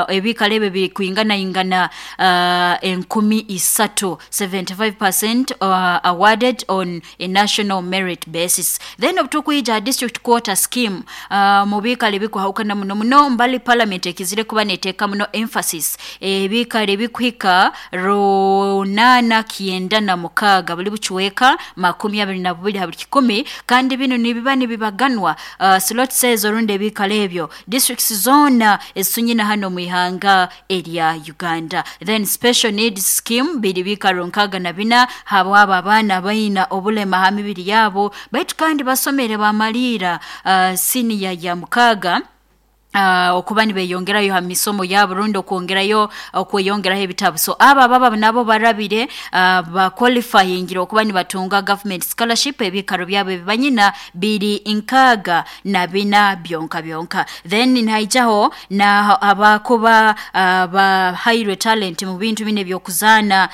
Ebikaro ebyo bikwinganaingana 3000, 75% awarded on a national merit basis. Then obutukwija district quota scheme, mu biikaro ebikwahukana muno muno mbali parliament ekizire kuba neteeka muno emphasis, ebiikaro ebikuhika 896, buli bucweka 22 ha buli kikumi. Kandi binu nibiba nibibaganwa, slots ezo rundi ebiikaro ebyo, districts zoona ezitunyina hanu omu ihanga erya Uganda. Then special needs scheme biri biikaro 64 habwabo abaana abaina obulema ha mibiri yabo, baitu kandi basomere bamaliira siniya ya 6, okuba nibeyongerayo ha misomo yabo rundi okwongerayo okweyongeraho ebitabu. So abo ababa nabo barabire, baqualifyingire okuba nibatunga government scholarship, ebikaro byabo ebibanyina biri 64 byonka byonka. Then nihaijaho na abakuba bahairwe talent mu bintu binu ebyokuzaana,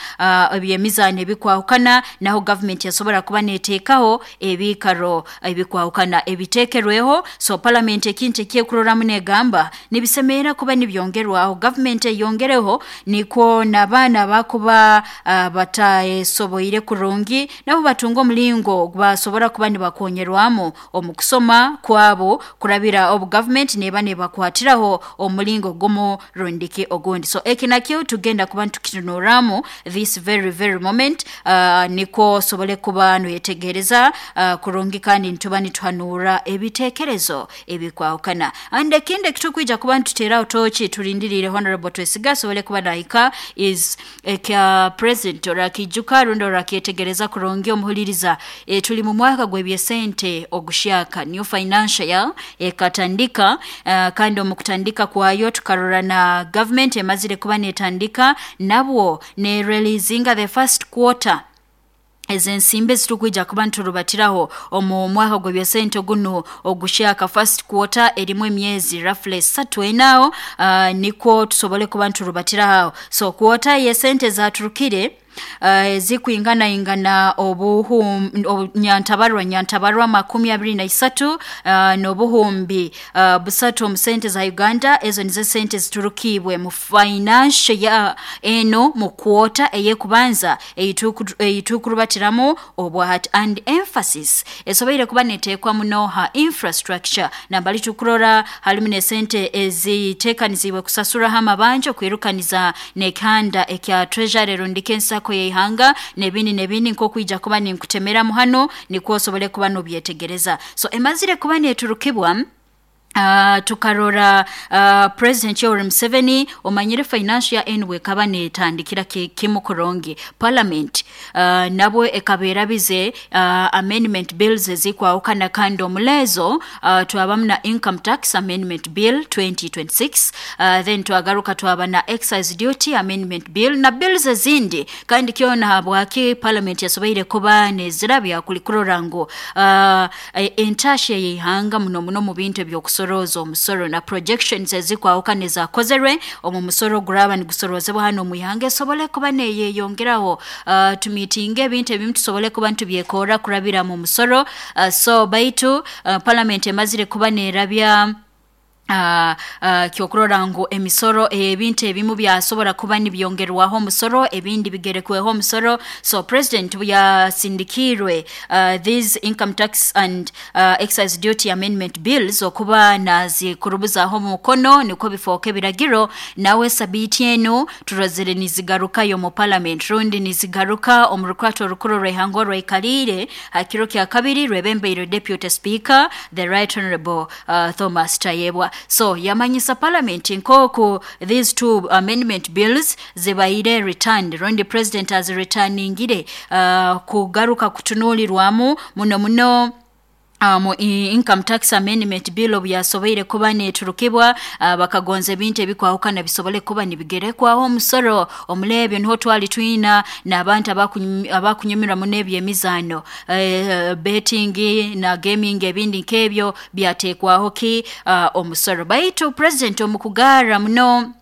ebyemizaano ebikwahukana, naho government yasobora kuba neteekaho ebikaro ebikwahukana ebiteekerweho. So parliament ekintu ekyekuroramu negamba nibisemerera kuba nibyongerwaho, government eyongereho nikwo n'abaana abakuba batasoboire kurungi nabo batunga omulingo basobora kuba nibakonyerwamu omu kusoma kwabo kurabira obu government neba nebakwatiraho omulingo gumu rundiki ogundi. So eki nakyo tugenda kuba nitukitunuramu this very very moment, nikwo osobole kuba noyetegereza kurungi, kandi nituba nituhanura ebitekerezo ebikwahukana. And ekindi ekitukwija kuba nituteeraho toki tulindiriire Honorable Twesiga asobole kuba nahika is ekya president. Orakijuka rundi orakyetegereza kurungi, omuhuliriza, tuli mu mwaka gw'ebyesente ogushyaka, new financial year ekatandika, kandi omu kutandika kwayo tukarora na government emazire kuba netandika nabwo ne releasinga the first quarter ezensimbi ezitukwija kuba niturubatiraho omu mwaka gw'ebyesente guno ogushyaka. First quarter erimu emyezi roughly 3, enaaho, nikwo tusobole kuba niturubatiraho. So quarter yesente zaturukire ezikwinganaingana obuhum nyantabarwa 23 n'obuhumbi 3 omu sente za Uganda. Ezo nizo sente ziturukibwe mu financial ya eno mu quarter eyekubanza eyitukurubatiramu obwahati, and emphasis esoboire kuba neteekwa muno ha infrastructure. Nambali tukurora halimu nesente ezitekanizibwe kusasuraho amabanja, okwirukaniza nekihanda ekya treasury rundika ensako yeihanga, nebindi nebindi, nkokwija kuba ninkutemeramu hano nikwo osobole kuba nobyetegereza. So emazire kuba neturukibwa, tukarora President Yoweri Museveni, omanyire financial year enu bwekaba netandikira kimu kurungi, parliament nabwo ekaba erabize amendment bills ezikwahukana, kandi omulezo twabamu na Income Tax Amendment Bill 2026, then twagaruka twaba na Excise Duty Amendment Bill na bills ezindi. Kandi kyona habwaki parliament yasoboire kuba nezirabya kuli kurora ngu entasha yeihanga muno muno mu bintu ebyokusorooza omusoro na projections ezikwahukana ezakozerwe omu musoro guraba nigusorozebwa hano omu ihanga esobole kuba neyeyongeraho, tumitinge ebintu ebimu tusobole kuba nitubyekora kurabira mu musoro. So baitu parliament emazire kuba nerabya kyokurora ngu emisoro, ebintu ebimu byasobora kuba nibyongerwaho omusoro, ebindi bigerekweho omusoro. So president yasindikiirwe these Income Tax and Excise Duty Amendment Bills okuba nazikurubuzaho omukono nikwo bifooka ebiragiro. Nawe sabiiti enu turozere nizigarukayo mu parliament rundi nizigaruka omu rukwato orukuru rw'ihanga orwaikaliire ha kiro kya kabiri rwebembeire Deputy Speaker, the Right Honorable Thomas Tayebwa. So yamanyisa parliament nkoku these two amendment bills zibaire returned rundi president azireturningire kugaruka kutunuulirwamu muno muno. Mu Income Tax Amendment Bill obu yasoboire kuba neturukibwa, bakagonza ebintu ebikwahukana bisobole kuba nibigerekwaho omusoro. Omuleebyo niho twali twina n'abantu abakunyumirwa muno ebyemizaano, betting na gaming, ebindi nk'ebyo byateekwaho ki omusoro. Baitu president omu kugarra muno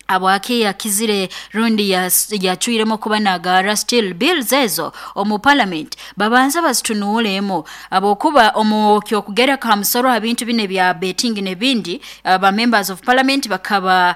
habwaki yakizire rundi yacwiremu kuba nagara still bills ezo omu parliament, babanza bazitunuulemu, habwokuba omu kyokugereka ha musoro ha bintu bino ebya betting n'ebindi, ba members of parliament bakaba